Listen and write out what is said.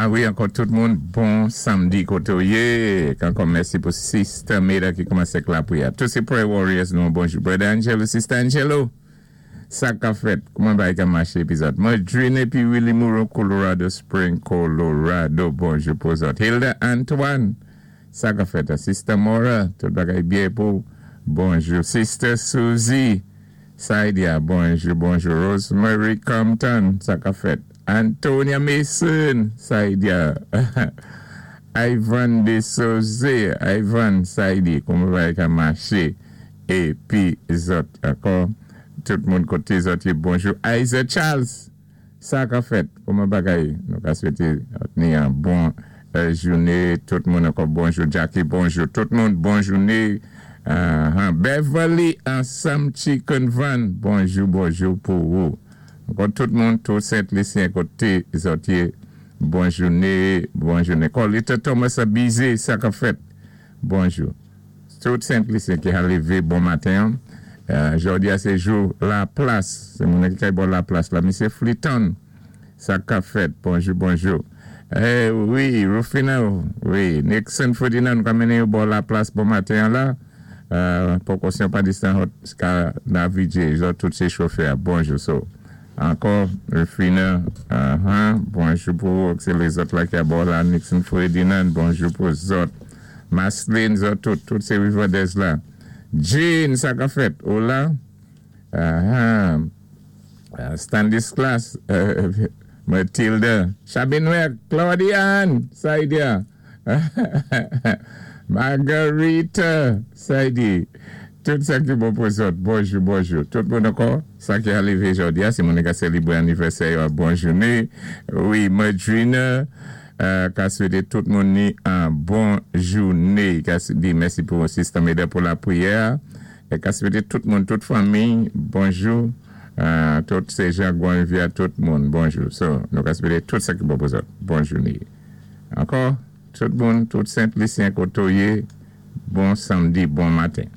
A wi, ankò tout moun, bon samdi koté ou yé. Ankò mèsi pou Sister Meda ki koumansé ak lapriyè. Tout sé Prayer Warriors nou, bonjou. Brother Angelo, Sister Angelo, sa ka fèt? Kouman bagay ka maché épi zòt? Madrine épi Willie Moreau, Colorado Spring, Colorado, bonjou pou zòt. Hilda Antoine, sa ka fèt? Sister Mora, tout bagay byen pou ou? Bonjou. Sister Suzy, Saidia, bonjou, bonjou. Rosemary Compton, sa ka fèt? Antonia Mason, Saidia. Ivan de Souze, Ivan Saidi, kouman bagay ka maché? Épi zòt ankò, tout moun koté zòt yé, bonjou. Isaac Charles, sa ka fèt? Kouman bagay? Nou ka swété ni an bon jouné tout moun ankò, bonjou. Jackie, bonjou. Tout moun, bon jouné. Beverly ansanm Chicken Van, bonjou, bonjou pou ou. Ankò tout moun, tout Sent Lisyen koté zòt yé, bon jouné, bon jouné. Colita Thomas Abize, sa ka fèt? Bonjou. Tout Sent Lisyen ki a lévé bon maten an. Jòdi a sé jou Laplas, sé moun ki kay bò Laplas la. Misyé Fliton, sa ka fèt? Bonjou, bonjou. Eh wi, Rufina, wi, Nixon Ferdinand, nou ka mennen yo bò Laplas bon maten an la. Poko si yon pa distan hot ka navige zòt tout se chofè a bonjou so ankò Rufina ahan bonjou pou ou se lezòt la ki a bò la Nixon Ferdinand bonjou pou zòt Maslin zòt tout tout se Rivandez la Jane sa ka fèt ou la ahan Stanislas Matilda Chabenoir Claudiane Saidia. Margarita Saidi, tout sa ki bon pou zòt, bonjou, bonjou. Tout moun ankò, sa ki arivé jòdi a, sé moun ka sélébré anivèsè yo, bon jouné. Wi, Madrina ka swété tout moun ni an bon jouné. Ka di mèsi pou Sister Meda pou lapriyè a. É ka swété tout moun, tout fanmi, bonjou. Tout sé Jean Grand Rivière, tout moun, bonjou. So, nou ka swété tout sa ki bon pou zòt, bon jouné. Ankò, tout moun, tout Sent Lisyen koté ou yé, bon samdi, bon maten.